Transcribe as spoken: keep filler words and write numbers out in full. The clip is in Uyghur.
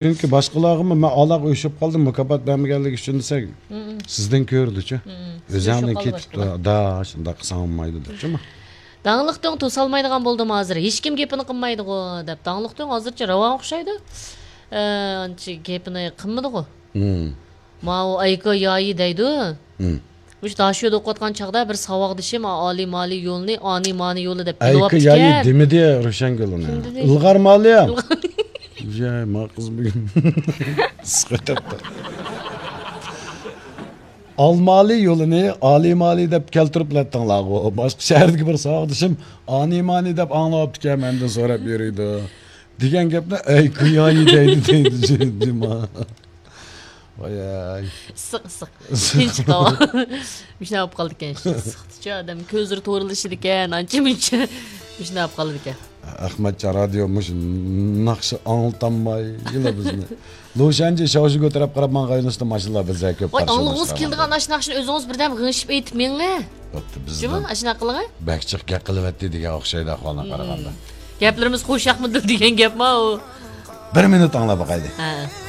چۈنكى باشقىلارغىمۇ مەن ئالاغا ئۆچۈپ قالدىم، مۇكاپات بەرمىگەنلىكى ئۈچۈن دېسەك، سىزدىن كۆرىدۇچۇ. ئۆزۈڭنى كېتىپتۇ، دا، شۇنداق قىلساڭ بولمايدۇ دەپچۇ. داڭلىقتىڭ توسالمايدىغان بولدىمۇ ھازىر؟ ھېچكىم گېپىنى قىلمايدىغۇ دەپ، داڭلىقتىڭ ھازىرچە راۋان ئوخشايدۇ. ئە، ئانچە گېپىنى قىلمىدىغۇ. ماۋۇ ئايكو يايى دەيدۇ. مۇشۇ داشۆدە ئوقۇۋاتقان چاغدا بىر ساۋاقدىشىم ئالىي مالىي يولنى ئانى مانى يولى دەپ ئەيكى يايى بىلىۋاپتىكەن. دېمىدى روشەنگۈل ئۇنى. كىم دېدى؟ ئىلغار مالىيام. ياي، ما قىز بۈگۈن. ئىسسىق ئۆتۈپتۇ. ئالمالى يولىنى ئالىمالى دەپ كەلتۈرۈپ بىلەتتىڭلارغۇ. باشقا شەھەردىكى بىر ساۋاقدىشىم ئانىمانى دەپ ئاڭلاۋاپتىكەن، مەندىن سوراپ يۈرىدۇ. دېگەن گەپنى ئەي كۇيايى دەيدۇ، دەيدۇ جىما. ۋاياي. ئىسسىق، ئىسسىق. تىنچ قاۋا. مۇشۇنداق بولۇپ قالىدىكەن، ئىسسىقتىچۇ ئادەم كۆزلىرى تورلىشىدىكەن، ئانچە مۇنچە. مۇشۇنداق بولۇپ قالىدىكەن. ئەخمەتجان رادىيو مۇشۇ ناخشا ئاڭلىتالمايلا بىزنى. لۇشەنجى شاۋشىگو تەرەپ قاراپ ماڭغان يۆنىلىشتە ماشىنىلار بىزدە كۆپ ۋاي، قارشى ئاڭلىغۇڭىز ئالماشتۇرغان كېلىدىغان بولدى. ئاشۇ ناخشىنى ئۆزىڭىز بىردەم غىڭشىپ ئېيتىپ مېڭە. بوپتۇ، جۇمۇ، بىزدىن ئاشۇنداق قىلىڭە. بەك جىق گەپ قىلىۋەتتى دېگەن ئوخشايدۇ ئەھۋالغا قارىغاندا. گەپلىرىمىز خوش ياقمىدى دېگەن گەپما ئۇ. بىر مىنۇت ئاڭلاپ باقايلى. ھە.